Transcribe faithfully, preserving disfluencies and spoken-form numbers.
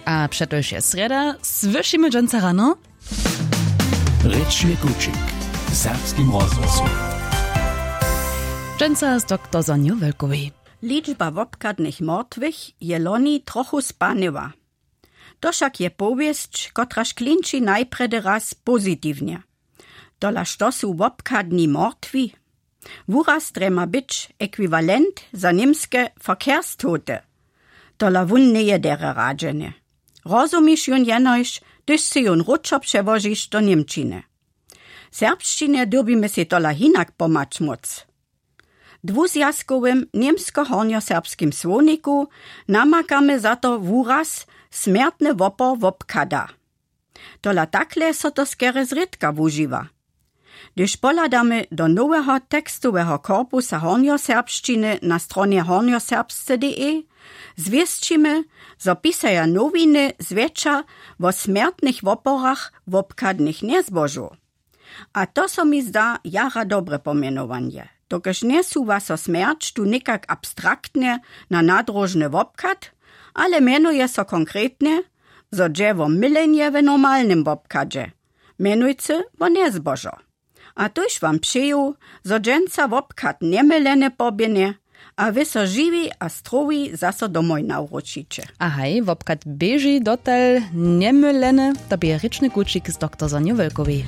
A přetož je srjeda, słyšimy dźensa rano. Rěčny kućik w serbskim rozhłosu. Dźensa z doktor Sonju Wölkowej. Ličba wobchadnych mortwych je loni trochu spanyła. To wšak je powěsć, kotraž klinči najprjedy raz pozitiwnje. Tola što su wobchadni mortwi? Wuraz drje ma być ekwiwalent za němske Verkehrstote. Tola wón njeje derje radźene. Rozumiš jón jenož, hdyž sy jón wróćo přełožiš do němčiny. Serbšćinje dyrbimy sej tola hinak pomhać móc. Dwuzwjazkowym němsko-hornjoserbskim słowniku namakamy za to wuraz smjertny wopor wobchada. Tola takle so to skerje zrědka wužiwa. Hdyž pohladamy do noweho tekstoweho korpusa hornjoserbšćiny na stronje hornjoserbsce.de, zwěsćimy, zo pisaja nowiny zwjetša wo smjertnych woporach wobchadnych njezbožow. A to so mi zda jara dobre pomjenowanje, dokelž njesuwa so smjerć tu někak abstraktnje na nadróžny wobchad, ale mjenuje so konkretnje, zo dźe wo mylenje w normalnym wobchadźe, mjenujcy wo njezbožo. A tuž wam přeju, zo dźensa wobchad njemylene poběhnje a wy so žiwi a strowi zaso domoj nawróćiće. A haj, wobchad běži dotal njemylene. To bě rěčny kućik z doktor Sonju Wölkowej.